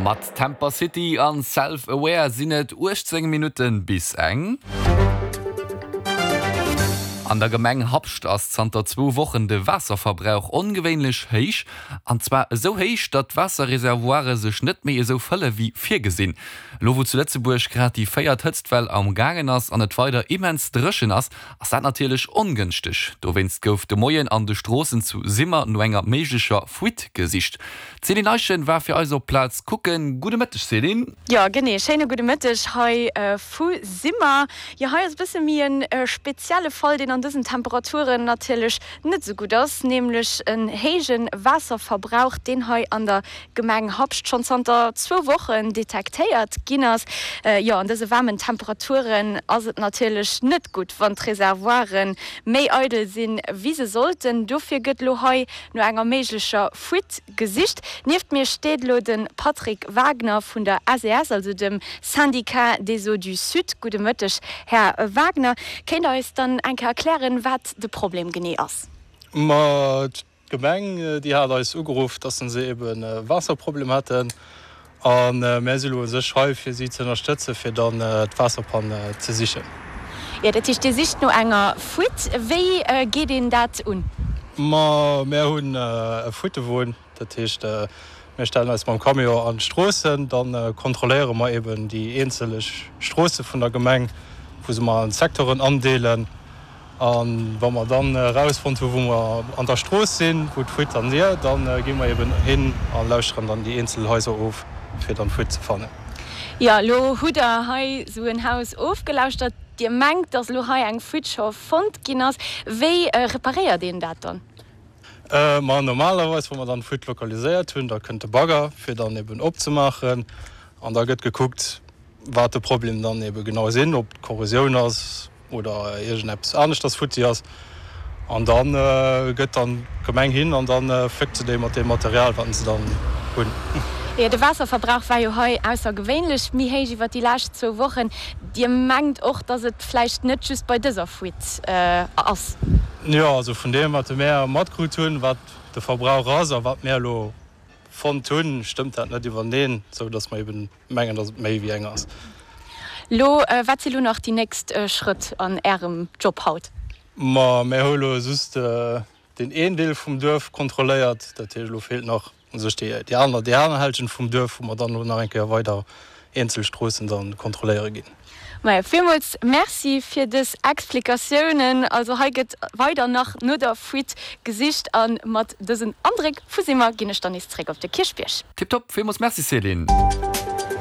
Mat Temper City an Self Aware sinn et 18 Minutten bis eng. An der Gemeng Habscht ass zanter zwou Wochen de Waasserverbrauch ongewéinlech héich. An zwar esou héich, datt d'Waasserreservoire sech net méi esou fëlle wéi virgesinn. Elo wou zu Lëtzebuerg grad déi véiert Hëtztwell am gaangen ass an et weider immens dréchen ass, ass dat natierlech ongënschteg. Dowéinst gouf de Moien an de Stroossen zu Simmer no enger méiglecher Fuite gesicht. D'Céline Eischen war fir eis op d'Plaz kucken. Gudde Mëtteg Céline. Jo genee, schéine gudde Mëtteg hei vu Simmer. Jo hei ass e bësse méi e spezielle Fall, deen an dësen Temperaturen natierlech net esou gutt ass, nämlech en héije Waasserverbrauch, deen hei an der Gemeng Habscht schonn zanter zwou Wochen detektéiert ginn ass. Jo an dëse waarmen Temperaturen ass et natierlech net gutt, wann d'Reservoire méi eidel sinn, wéi se sollten. Dofir gëtt elo hei no enger méiglecher Fuite gesicht. Nieft mir steet elo de Patrick Wagner vun der SES, also dem Syndicat des Eaux du Sud. Gudde Mëtteg, Här Wagner. Kéint Der eis dann eng Kéier erklären, wat de Problem genee ass? Ma d'Gemeng, déi hat eis ugeruff, dass se eben e Waasserproblem hätten. A mär si elo u sech hei, fir si ze ënnerstëtzen, fir dann d'Waasserpann ze sichen. Jo, dat heescht, Dir sicht no enger Fuite. Wéi geet een dat un? Ma mär hunn e Fuittewon. Dat heescht, mir stellen eis mam Camion an d'Stroossen, da kontrolléiere mer eben déi eenzel Stroosse vun der Gemeng, wou se mer an Secteuren andeelen. A wa mer dann erausfonnt hu wou mer an der Strooss sinn, wou d'Fuite dann wier, da gi mer eben hin a lauschteren dann déi eenzel Haiser of, fir dann d'Fuite ze fannen. Jo, elo hutt Der hei esou en Haus ofgelauschtert. Dir mengt, datt elo hei eng Fuite scho fonnt ginn ass. Wéi reparéiert een dat dann? Ma normalerweis, wa mer dann d'Fuite lokaliséiert hunn, da kënnt de Bagger, fir dann eben opzemaachen. An da gëtt gekuckt, wat de Problem dann ebe genau sinn, ob d'Korrosioun ass oder iergendeppes aneschters futti ass. An da gëtt dann d'Gemeng hin an da fléckt se déi mat deem Material, wat se dann hunn. Jo, de Waasserverbrauch war jo hei aussergewéinlech méi héich iwwer déi lescht zwou Wochen. Dir mengt och, datt et vläicht net just bei dëser Fuite ass? Jo, also vun deem, wat mär matkrut hunn, wat de Verbrauch ass a wat mär elo fonnt hunn, stëmmt dat net iwwerneen, esou datt mer eben Mengen dass et méi wéi eng ass. Lo, wat si lo nach déi nächst Schrëtt an Ärem Job haut? Ma mär hu lo just deen een Deel vum Duerf kontrolléiert. Dat heescht, elo feelt nach u sech déi aner, déi aner Hälschent vum Duerf, wou mer dann elo nach eng Kéier weider eenzel Stroossen dann kontrolléiere ginn. Maja, villmools Merci fir dës Explikatiounen. Also hei gëtt weider nach no der Fuite gesicht a mat dësen Andréck vu Simmer ginn ech dann nees zréck op de Kierchbierg. Tiptop, villmools Merci Céline.